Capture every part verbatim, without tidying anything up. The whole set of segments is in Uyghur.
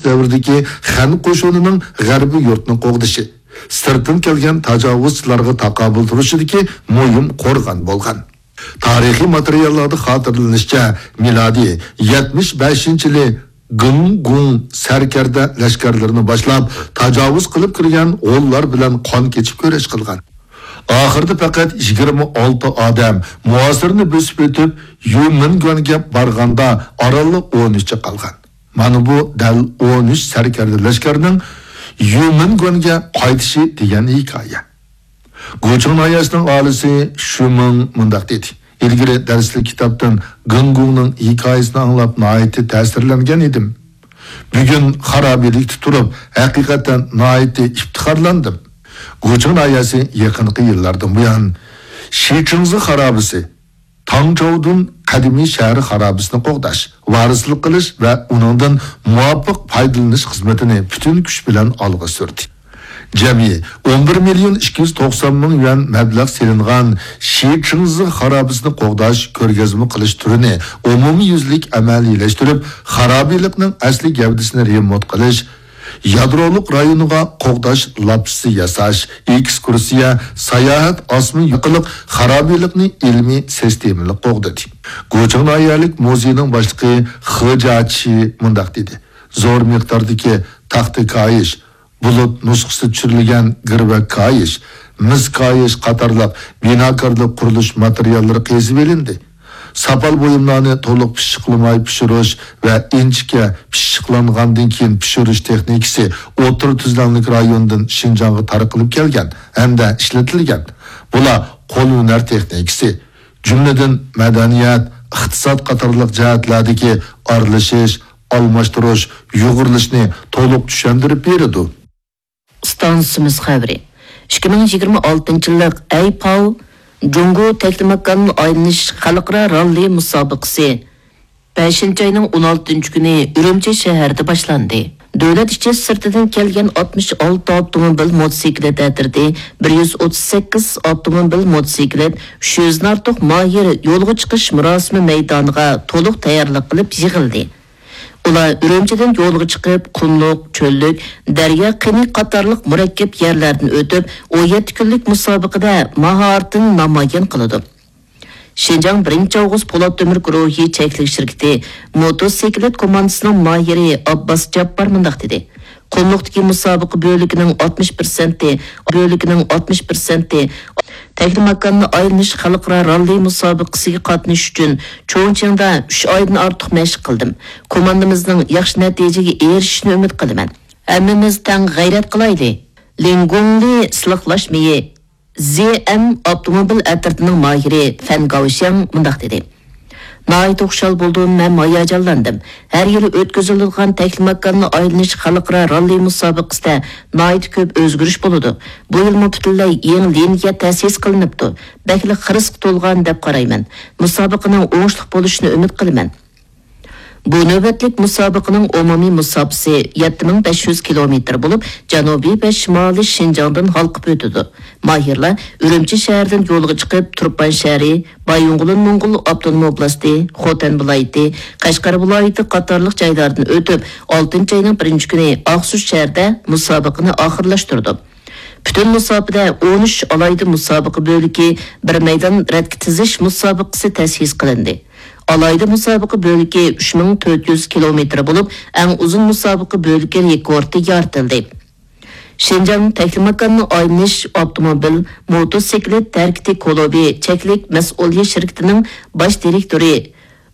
دەۋرىدىكى خەن قوشۇنىنىڭ غەربىي يۇرتنى قوغدىشى، سىرتتىن كەلگەن تاجاۋۇزچىلارغا تاقابىل تۇرۇشىدىكى مۇھىم قورغان بولغان. تارىخىي ماتېرىياللاردا خاتىرىلىنىشىچە، مىلادىي يەتمىش بەشىنچى يىلى گېڭگۇڭ سەركەردە لەشكەرلىرىنى باشلاپ، تاجاۋۇز قىلىپ كىرگەن غۇنلار بىلەن قان كېچىپ كۈرەش قىلغان. ئاخىرىدا پەقەت يىگىرمە ئالتە ئادەم مۇھاسىرىنى بۆسۈپ ئۆتۈپ، يۈمىنگۈەنگە بارغاندا، ئارانلا ئون ئۈچى قالغان. مانا بۇ دەل ئون ئۈچ سەركەردە لەشكەرنىڭ يۈمىنگۈەنگە قايتىشى دېگەن ھېكايە. گۇچىڭ ناھىيەسىنىڭ ئاھالىسى شۈمىڭ مۇنداق دېدى: «ئىلگىرى دەرسلىك كىتابتىن گېڭگۇڭنىڭ ھېكايىسىنى ئاڭلاپ ناھايىتى تەسىرلەنگەن ئىدىم. بۈگۈن خارابىلىكتە تۇرۇپ، ھەقىقەتەن ناھايىتى ئىپتىخارلاندىم.» گۇچىڭ ناھىيەسى يېقىنقى يىللاردىن بۇيان شىچىڭزى خارابىسى، تاڭچاۋدۇن قەدىمىي شەھەر خارابىسىنى قوغداش، ۋارىسلىق قىلىش ۋە ئۇنىڭدىن مۇۋاپىق پايدىلىنىش خىزمىتىنى پۈتۈن كۈچ بىلەن ئالغا سۈردى. جەمئىي ئون بىر مىليون ئىككى يۈز توقسان مىڭ يۈەن مەبلەغ سېلىنغان شىچىڭزى خارابىسىنى قوغداش كۆرگەزمە قىلىش تۈرىنى ئومۇميۈزلۈك ئەمەلىيلەشتۈرۈپ، خارابىلىكنىڭ ئەسلى گەۋدىسىنى رېمونت قىلىش، يادرولۇق رايونىغا قوغداش لاپچىسى ياساش، ئېكسكۇرسىيە، ساياھەت ئاسما ئارقىلىق خارابىلىكنى ئىلمىي سىستېمىلىق قوغدىدى. گۇچىڭ ناھىيەلىك مۇزېينىڭ باشلىقى خې جياچى مۇنداق دېدى: «زور مىقداردىكى تاختا كايىش، بۇلۇت نۇسخىسى چۈشۈرۈلگەن گىرۋەك كايىش، مىس كايىش قاتارلىق بىناكارلىق قۇرۇلۇش ماتېرىياللىرى قېزىۋېلىندى. ساپال بۇيۇملارنى تولۇق پىششىقلىماي پىشۇرۇش ۋە ئىنچىكە پىششىقلانغاندىن كېيىن پىشۇرۇش تېخنىكىسى ئوتتۇرا تۈزلەڭلىك رايونىدىن شىنجاڭغا تارقىلىپ كەلگەن ھەمدە ئىشلىتىلگەن. بۇلار قول ھۈنەر تېخنىكىسى، جۈملىدىن مەدەنىيەت، ئىقتىساد قاتارلىق جەھەتلەردىكى ئارىلىشىش، ئالماشتۇرۇش، يۇغۇرۇلۇشنى تولۇق چۈشەندۈرۈپ بېرىدۇ.» ئىستانسىمىز خەۋىرى. ئىككى مىڭ يىگىرمە ئالتىنچى يىللىق ئەيپاۋ جۇڭگو تەكلىماكاننى ئايلىنىش خەلقئارا راللى مۇسابىقىسى بەشىنچى ئاينىڭ ئون ئالتىنچى كۈنى ئۈرۈمچى شەھىرىدە باشلاندى. دۆلەت ئىچى سىرتىدىن كەلگەن ئاتمىش ئالتە ئاپتوموبىل موتوسىكلىت ئەترىتى بىر يۈز ئوتتۇز سەككىز ئاپتوموبىل موتوسىكلىت ئۈچ يۈزدىن ئارتۇق ماھىر يولغا چىقىش مۇراسىمى مەيدانىغا تولۇق تەييارلىق قىلىپ يىغىلدى. ئۇلار ئۈرۈمچىدىن يولغا چىقىپ، قۇملۇق، چۆللۈك، دەريا قېنى قاتارلىق مۇرەككەپ يەرلەردىن ئۆتۈپ، ئون يەتتە كۈنلۈك مۇسابىقىدە ماھارىتىنى نامايان قىلىدۇ. شىنجاڭ بىرىنچى ئاۋغۇست پولات تۆمۈر گۇرۇھى چەكلىك شىركىتى موتوسىكلىت كوماندىسىنىڭ ماھىرى ئابباس جاپپار مۇنداق دېدى: «قۇملۇقتىكى مۇسابىقە بۆلىكىنىڭ ئاتمىش پىرسەنتى، بۆلىكىنىڭ ئاتمىش پىرسەنتى تەكلىماكاننى ئايلىنىش خەلقئارا راللى مۇسابىقىسىگە قاتنىشىش ئۈچۈن چۇڭچىڭدا ئۈچ ئايدىن ئارتۇق مەشىق قىلدىم. كوماندىمىزنىڭ ياخشى نەتىجىگە ئېرىشىشىنى ئۈمىد قىلىمەن. ھەممىمىز تەڭ غەيرەت قىلايلى.» لىڭگۇڭلى سىلىقلاش مېيى، زې ئەم ئاپتوموبىل ئەترىتىنىڭ ماھىرى فەن گاۋشياڭ مۇنداق دېدى: «ناھايىتى خۇشال بولدۇم ھەم ھاياجانلاندىم. ھەر يىلى ئۆتكۈزۈلىدىغان تەكلىماكاننى ئايلىنىش خەلقئارا راللى مۇسابىقىسىدە ناھايىتى كۆپ ئۆزگىرىش بولىدۇ. بۇ يىلمۇ پۈتۈنلەي يېڭى لىنىيە تەسىس قىلىنىپتۇ. بەكلا خىرىسقا تولغان دەپ قارايمەن. مۇسابىقىنىڭ ئوڭۇشلۇق بولۇشىنى ئۈمىد قىلىمەن.» بۇ نۆۋەتلىك مۇسابىقىنىڭ ئومۇمىي مۇساپىسى يەتتە مىڭ بەش يۈز كىلومېتىر بولۇپ، جەنۇبىي ۋە شىمالىي شىنجاڭدىن ھالقىپ ئۆتىدۇ. ماھىرلار ئۈرۈمچى شەھىرىدىن يولغا چىقىپ، تۇرپان شەھىرى، بايىنغولىن موڭغۇل ئاپتونوم ئوبلاستى، خوتەن ۋىلايىتى، قەشقەر ۋىلايىتى قاتارلىق جايلاردىن ئۆتۈپ، ئالتىنچى ئاينىڭ بىرىنچى كۈنى ئاقسۇ شەھىرىدە مۇسابىقىنى ئاخىرلاشتۇرىدۇ. پۈتۈن مۇساپىدە ئون ئۈچ ئالاھىدە مۇسابىقە بۆلىكى، بىر مەيدان رەتكە تىزىش مۇسابىقىسى تەسىس قىلىندى. ئالاھىدە مۇسابىقە بۆلىكى ئۈچ مىڭ تۆت يۈز كىلومېتىر بولۇپ، ئەڭ ئۇزۇن مۇسابىقە بۆلىكى رېكورتى يارىتىلدى. شىنجاڭ تەكلىماكاننى ئايلىنىش ئاپتوموبىل، موتوسىكلىت ھەرىكىتى كۇلۇبى چەكلىك مەسئۇلىيەت شىركىتىنىڭ باش دىرېكتورى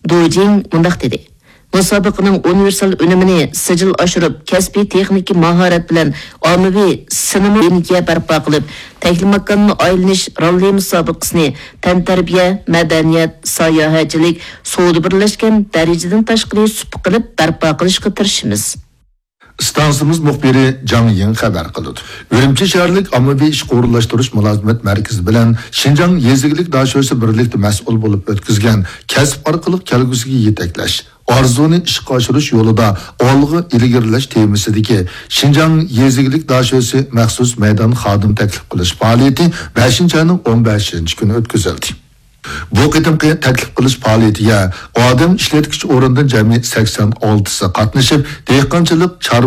دۇ جىڭ مۇنداق دېدى: «مۇسابىقىنىڭ ئۇنىۋېرسال ئۈنۈمىنى سىجىل ئاشۇرۇپ، كەسپىي تېخنىكا ماھارەت بىلەن ئاممىۋى سىنىما لىنىيە بەرپا قىلىپ، تەكلىماكاننى ئايلىنىش راللى مۇسابىقىسىنى تەنتەربىيە، مەدەنىيەت، ساياھەتچىلىك، سودا بىرلەشكەن دەرىجىدىن تاشقىرى سۇپا قىلىپ بەرپا قىلىشقا تىرىشىمىز.» ئىستانسىمىز مۇخبىرى جاڭ يىڭ خەۋەر قىلىدۇ. ئۈرۈمچى شەھەرلىك ئاممىۋى ئىشقا ئورۇنلاشتۇرۇش مۇلازىمەت مەركىزى بىلەن شىنجاڭ يېزا ئىگىلىك داشۆسى بىرلىكتە مەسئۇل بولۇپ ئۆتكۈزگەن كەسىپ ئارقىلىق كەلگۈسىگە يېتەكلەش، ئارزۇنى ئىشقا ئاشۇرۇش يولىدا ئالغا ئىلگىرىلەش تېمىسىدىكى شىنجاڭ يېزا ئىگىلىك داشۆسى مەخسۇس مەيدان خادىم تەكلىپ قىلىش پائالىيىتى بەشىنچى ئاينىڭ ئون بەشىنچى كۈنى ئۆتكۈزۈلدى. بۇ قېتىمقى تەكلىپ قىلىش پائالىيىتىگە ئادەم ئىشلەتكۈچى ئورۇندىن جەمئىي سەكسەن ئالتىسى قاتنىشىپ، دېھقانچىلىق، چارۋىچىلىق،